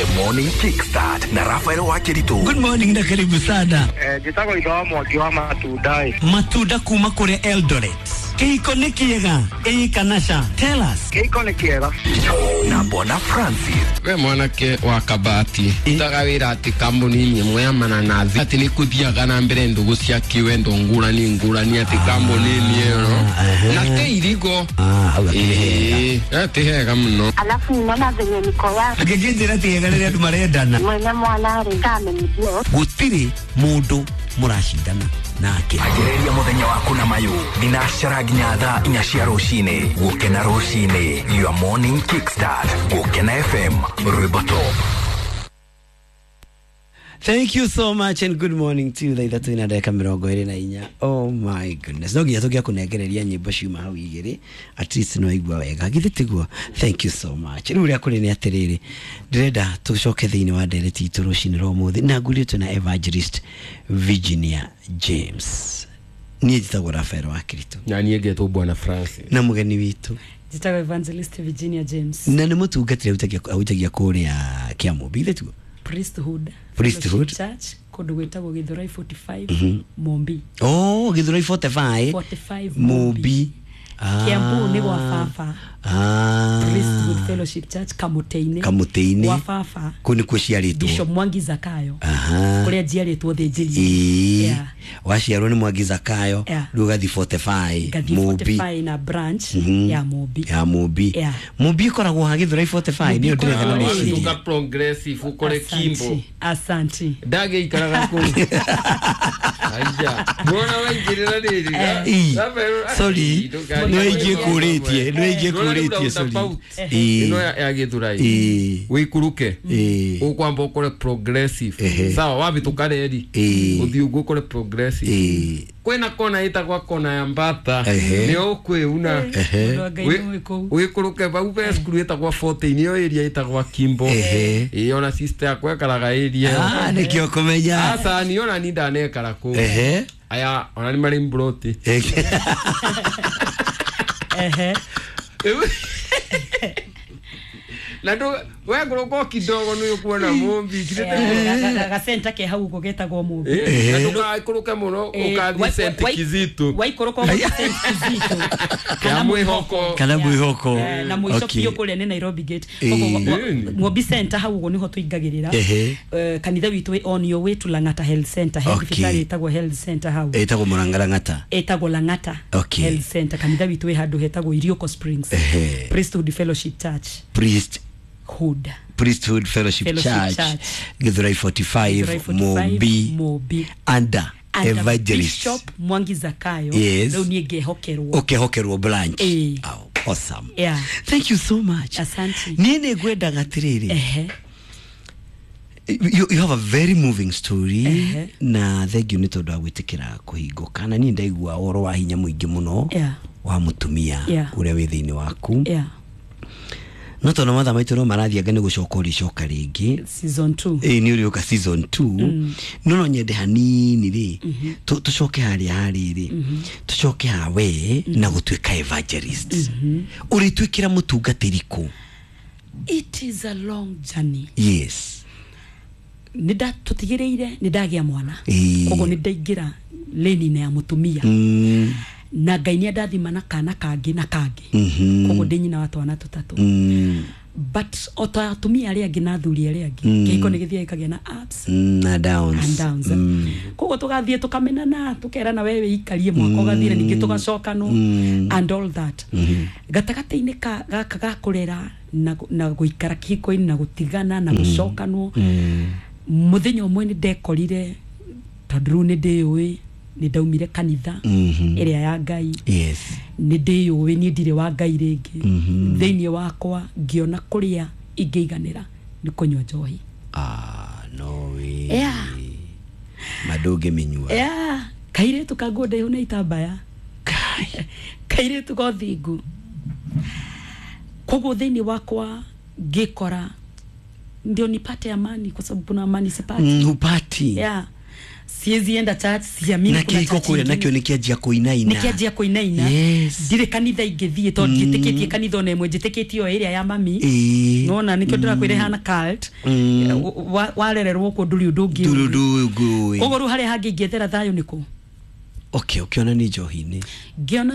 The Morning Kickstart na Rafael Wakeritu. Good morning na karibu sana. Njĩtagwo itho wa Mwangi wa matunda ĩ. Matunda kuma kũrĩa Eldoret. Kĩhiko nĩ kĩega ĩĩ kana ca? Tell us. Kĩhiko nĩ kĩega. Na Bwana Francis. We mwanake wa kabati utaga wĩra atĩ kambuni-inĩ ĩmwe ya mananathi atĩ nĩ kũthiaga na mbere ndũgũ cia kĩwendo ngũrani ngũrani atĩ kambuni-inĩ ĩyo na te irigo. Hau akĩrĩ hega. Ĩĩ, ti hega mũno. Alafu ninaona venye niko ya Ngĩkĩnjĩra ti hega rĩrĩa andũ marendana. mwene mwana rĩ kamenyithio. Gũtirĩ mũndũ mũracindana nake. Anjĩrĩria mũthenya waku na mayũ thinacara nginya thaa 4 cia rũcinĩ. Gũkena rũcinĩ, your morning kickstart. Gũkena FM, rwĩmbo top. Thank you so much and good morning to you. Thaa 3:24. Oh my goodness. No nginya tũngĩakũnengereria nyĩmbo ciuma hau igĩrĩ. At least no igua wega. Githĩ tiguo? Thank you so much. Rĩu ũrĩa kũrĩ nĩ atĩrĩrĩ, ndĩrenda tũcoke thĩinĩ wa ndereti itũ rũcinĩ rwa ũmũthĩ na ngurĩtwo na Evangelist Virginia James. Niĩ njĩtagwo Rafael wa Kirito Na niĩ ngetwo Bwana Francis. Na mũgeni witũ Njĩtagwo Evangelist Virginia James. Na nĩ mũtungatĩri ahunjagia kũrĩa Kĩamũmbi, githĩ tiguo? Priesthood. Priesthood. Fellowship Church kũndũ gwĩtagwo Gĩthũrai 45 Mombi. Oh, Gĩthũrai 45. 45. Mũmbi. Kiambu nĩ gwa baba. Priesthood Fellowship Church Kamũtĩ-inĩ. Kamũtĩ-inĩ. Gwa baba. Kũu nĩkuo ciarĩtwo. Bishop Mwangi Zakayo. Kũrĩa njiarĩtwo thĩnjĩri. Ĩĩ. Waciarwo nĩ Mwangi Zakayo. Rĩu ũgathiĩ 45 Ngathiĩ Mũmbi. 45 na branch ya Mombi. Ya Mũmbi. Yeah. Mũmbi ĩkoragwo ha Gĩthũrai 45 nĩyo ndĩretha na Ĩkoragwo meciria. Watuka progressive ũkore Kimbo. Asante. Ndagĩikaraga kũu. Aija. Mbona waingĩrĩra rĩrĩ? Ii. Sorry. Nĩ waingĩ kũrĩtie, nĩ waingĩ kũrĩtie, sorry. Ĩĩ. Ĩno ya Gĩthũrai. Ĩĩ. Wĩikũrũke. Ĩĩ. Ũkwamba ũkore progressive. Ehe. Sawa, wabĩtũka reri. Ĩĩ. Ũthiĩ ũguo ũkore progressive. Ĩĩ. Kwĩna kona ĩtagwa kona ya Mbata. Ehe. Nĩyo ũkwĩuna. Ehe. Mũndũ wa Ngai nĩ kũu. Wĩikũrũke vau ve cukuru ĩtagwa 14 ĩyo area ĩtagwa Kimbo. Ehe. Ĩĩ, ona sister yakwa ekaraga area ĩyo. Ah, nĩkĩo kũmenya. Aca ni ona ni ndanekara kũu. Ehe. Aya, ona nĩ marĩ mburoti. Ehe. Na ndũ wekũrũka o kidogo nĩ ũkuona Mũmbi. Gacenta ke hau ũguo getagwo Mũmbi. Na ndũgaikũrũke mũno ũkathiĩ St. Kizito. Waikũrũka ũgathiĩ St. Kizito. Ya mwĩhoko. Kana mwĩhoko. Na mũico Okay. biũ kũrĩa nĩ Nairobi Gate. Ĩĩ. Koguo Ĩĩ. Ng'ombi Center hau ũguo nĩho tũingagĩrĩra. Ehe. Kanitha witũ wĩ on your way to Lang'ata Health Center. He Okay. thibitarĩ ĩtagwo Health Center hau. Ĩtagwo Mũrangarang'ata. Ĩtagwo Lang'ata Okay. Health Center. Kanitha witũ wĩ handũ hetagwo Irioko Springs. Ehe. Priesthood Fellowship Church. Priest Hood. Priesthood Fellowship, Fellowship Church, Church. Githurai 45, Githurai 45, Mumbi, Mumbi. Under Under Evangelist Bishop Mwangi Zakayo. Yes. Rĩu niĩ ngehokerwo. Ũkehokerwo branch. Ĩĩ. Oh, awesome. Yeah. Thank you so much. Asante. Niĩ nĩ ngwendaga atĩrĩrĩ. Ehe. You have a very moving story. Ehe. Na thank you nĩ tondũ wa gwĩtĩkĩra kũhingũka na niĩ ndaigua ũhoro wa hinya mũingĩ mũno Yeah. wa mũtumia Yeah. ũrĩa wĩ thĩinĩ waku. Yeah. No tondũ mathaa maitũ no marathianga nĩ gũcoka ũrĩcoka rĩngĩ. Season 2. Ĩĩ, nĩ ũrĩũka season 2. No nyende hanini rĩ, tũcoke harĩa harĩrĩ, tũcoke hawe na gũtuĩka evangelist. Ũrĩtuĩkĩra mũtungatĩri kũ? It is a long journey. Yes. Nĩ tũtigĩrĩire nĩ ndagĩa mwana. Ĩĩ. Koguo nĩ ndaingĩra lane-inĩ ya mũtumia. Na Ngai nĩ andathima na kana kangĩ na kangĩ. Koguo ndĩ nyina wa twana tũtatũ. But o ta atumia arĩa angĩ na athuri arĩa angĩ, kĩhiko nĩ gĩthiaga gĩkagĩa na ups Na downs. and downs. Koguo tũgathiĩ tũkamenana, tũkerana we wĩikarie mwaka ũgathira, ningĩ tũgacokanwo and all that. Gatagatĩ-inĩ ka gaka ga kũrera na gũikara kĩhiko-inĩ na gũtigana na gũcokanwo, mũthenya ũmwe nĩ ndekorire tondũ rĩu nĩ ndĩyũĩ nĩ ndaumire kanitha ĩrĩa ya Ngai. Yes. Nĩ ndĩyũĩ niĩ ndirĩ wa Ngai rĩngĩ. Thĩinĩ wakwa ngĩona kũrĩa ingĩiganĩra nĩ kũnyua njohi. Ah, no way. Yeah. Ma ndũngĩmĩnyua. Yeah. Kairĩtu ka nguo ndaihu na itambaya, kairĩtu ga ũthingu. Koguo thĩinĩ wakwa ngĩkora ndio nipate amani, kwa sababu kuna amani sipati. Hupati. Yeah. Siezi enda church, siamini Na kuna kĩhiko church kũrĩa ingine. nakĩo nĩ kĩanjia kũinaina. Nä kä anjia kũinaina. Yes. Ndirä kanitha ingä thiä tondå njä tä kanitha ona ĩmwe, njä tä kä tie o ä rä a ya mami. Ĩĩ. Nona nä kä o ndä rakwä ra hana cult. Warererwo kå ndå rä å ndå ngä Ndũrĩ ũndũ ũngĩ ũĩ. Koguo rä u harä a hangä ingĩethera thayå nä kå? Okay, ũkĩona nĩ njohi-inĩ. Ngĩona.